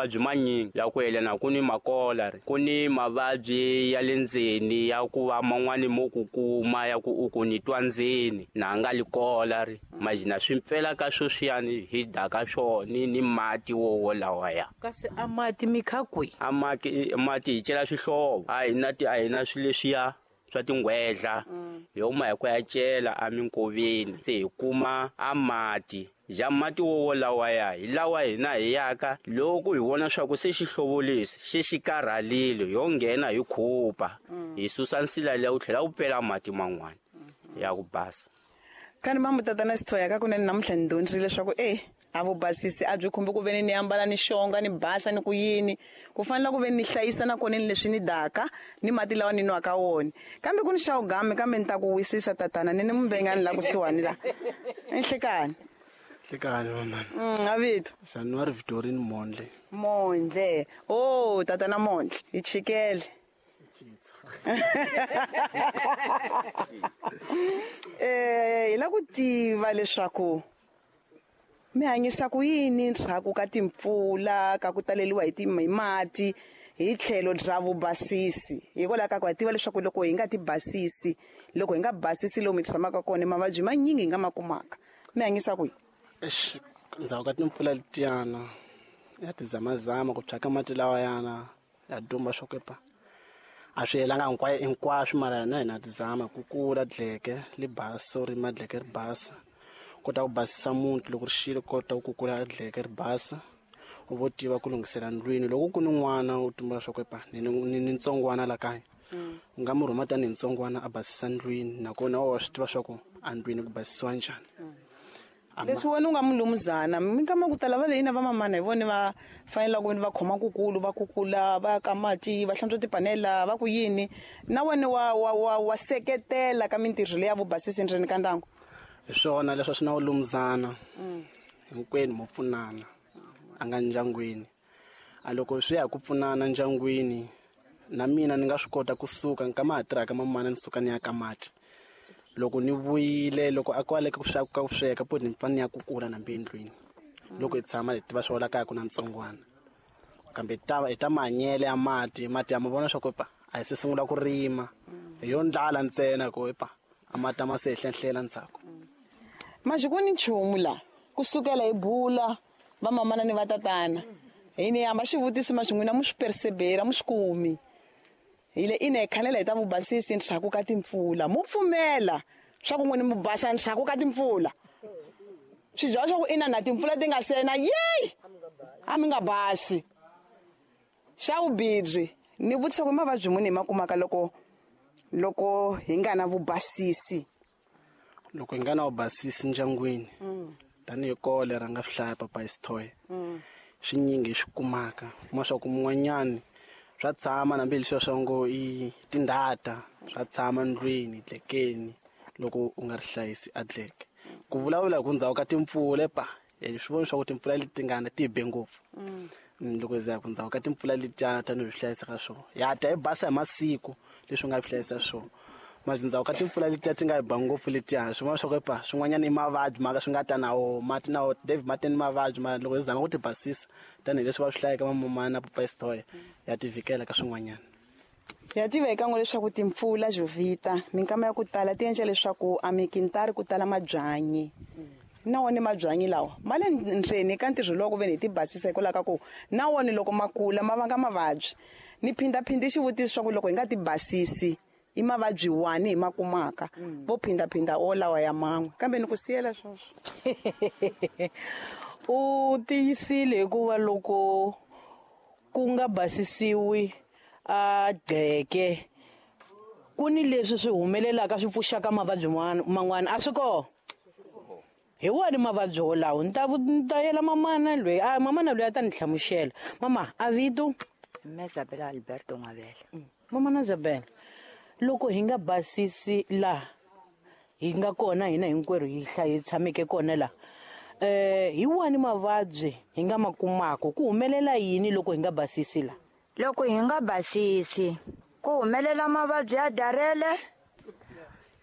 Mavabyi manyingi ya ku yelana ku ni makola ku ni mavabyi ya le ndzeni ya ku va man'wani mo ku kuma ya ku u ku ni twa ndzeni na nga likola ri majina swi mpfela ka sweswiyani hi daka swona ni mati wo lawaya. Kasi a mati mi kha kwi? A mati mati hi cela swihlovo, a hi na ti a hi na swilo leswiya swa tinghwedla, hi huma hi ku ya cela eminkoveni se hi kuma a mati. Ja mati wo lawaya hi lawa hina hi yaka loko hi vona swa ku se xihlovo lexi xi xi karhalile, yo nghena hi khupa hi susa nsila liya wu tlhela wu pfela mati man'wana ya ku basa. Kani mamu tatana Sithoya ka kunene namuntlha ni dyondzile leswaku a vubasisi a byi khumbi ku veni ni ambala ni xonga ni basa ni ku yini, ku fanele ku veni ni hlayisa na kona ni leswi ni daka ni mati lawa ni nwaka wona. Kambe ku ni xa ugame, kambe ni ta ku wisisa tatana ni ni mumbengani la kusuhani la. Enhlekani. Hlekani mamana. A vito. January Victorine Mondle. Mondle. Oh, tatana Mondle, hi chikele. Hi la ku tiva leswaku mi hanyisa ku yini ndzhaku ka timpfula ka ku taleriwa hi hi mati hi tlhelo bya vubasisi, hikwalaho ka ku ha tiva leswaku loko hi nga ti basisi, loko hi nga basisi lomu hi tshamaka kona mavabyi manyingi hi nga ma kumaka. Mi hanyisa ku yini? Eish, ndzhaku ka timpfula letiyana ya tizamazama ku thyaka mati lawayana ya dumba swo kepa a swi helanga hinkwaswo, mara na hina tizama ku kula dleke li basa ri madleke ri basa, kota ku basisa muti loko ri xile, kota ku kukula dleke ri basa, u vo tiva ku lunghisela ndlwini. Loko ku ni n'wana u tumbula swa ku ni ni ntsongwana la kaya, u nga mu rhuma tanihi ntsongwana a basisa ndlwini, nakona wa swi tiva swa ku a ndlwini ku basisiwa njhani. Leswi wena u nga mulumuzana, minkama ku tala va le ina va mamana hi vona va fanele ku va khoma kukulu, va kukula, va ka mati, va hlantswa tipanela, va ku yini. Na wena wa seketela ka mintirho leya vubasisi ndzeni ka ndyangu. Hi swona leswi swi na vulumuzana. Hinkwenu mo pfunana a nga ndyangwini. A loko swi ya ku pfunana ndyangwini, na mina ni nga swi kota kusuka nkama ha tirhaka mamana ni suka ni ya ka mati. Loko ni vuyile, loko a kwale ku sweka ku sweka, po ni fanele ni ya kukula na endlwini. Loko hi tshama hi tiva swa la kaya ku na ntsongwana. Kambe hi ta mahanyelo ya mati, mati ya ma vona swa ku pa a hi se sungula ku rima. Hi yo ndlala ntsena ku pa a mati ma se hlenhlela ndzhaku. Maxi ku ni nchumu la kusukela hi bula va mamana ni va tatana. Hi ni hamba xivutiso maxi n'wina mu swi persevera mu swi kumi. Hi le ina hi khanela hi ta vubasisi ndzhaku ka timpfula. Mu pfumela swa ku n'wina mu basa ndzhaku ka timpfula. Swi byela swa ku ina na timpfula ti nga sena, yeyi! A mi nga basi. Xa vubibyi, ni vutisa ku mavabyi muni hi ma kumaka loko hi nga na vubasisi? Loko hi nga na vubasisi ndyangwini, tanihi kole ra nga swi hlaya papa Sithoye, swinyingi hi swi kumaka. Kuma swa ku mun'wanyani swa tshama na mbilu swa ngo i tindhata, swa tshama ndlwini, dlekeni, loko u nga ri hlayisi a dleke. Ku vulavula hi ku ndzhaku ka timpfula pa, swi vona swa ku timpfula leti nga na ti be ngopfu. Loko hi za ku ndzhaku ka timpfula letiyana tanihi swi hlayisa ka swona. Ya ta hi basa hi masiku leswi nga swi hlayisa swona. Masi ndzhaku ka timpfula letiya ti nga hi ba ngopfu letiya, swin'wana swa ku pa, swin'wanyana i mavabyi maka swi nga ta na wo, mati na wo, David mati ni mavabyi, mara loko hi zama ku ti basisa tanihileswi va swi hlayaka mamamana na papa Sithoye, ya ti vhikela ka swin'wanyana. Ya tiva hi kan'we leswaku timpfula Jovita minkama ya ku tala ti endla leswaku a mikintari ku tala mabyanyi. Na wona mabyanyi lawa ma le ndzeni ka ntirho lowu ku veni hi ti basisa hikwalaho ka ku na wona loko ma kula ma vanga mavabyi. Ni phindhaphindhi xivutiso swa ku loko hi nga ti basisi i mavabyi wani hi ma kumaka, vo phindhaphindha o lawa ya man'we, kambe ni ku siyela sweswo. U tiyisile hikuva loko ku nga basisiwi a gqeke ku ni leswi swi humelelaka swi pfuxaka mavabyi man'wana, a swi kona. Hi wona mavabyi wolawo, ni ta yela mamana loyi, a mamana loyi a ta ni hlamusela. Mama, a vito? Mme Isabella Alberto Ngwabela. Mamana Isabella, loko hi nga basisi laha hi nga kona hina hinkwerhu hi hi tshameke kona laha, hi wani mavabyi hi nga ma kumaka? Ku humelela yini loko hi nga basisi laha? Loko hi nga basisi, ku humelela mavabyi ya darele,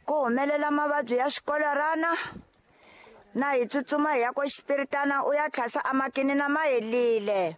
ku humelela mavabyi ya swikolarana, na hi tsutsuma hi ya ko xipiritana u ya tlhasa a makini na mahelile.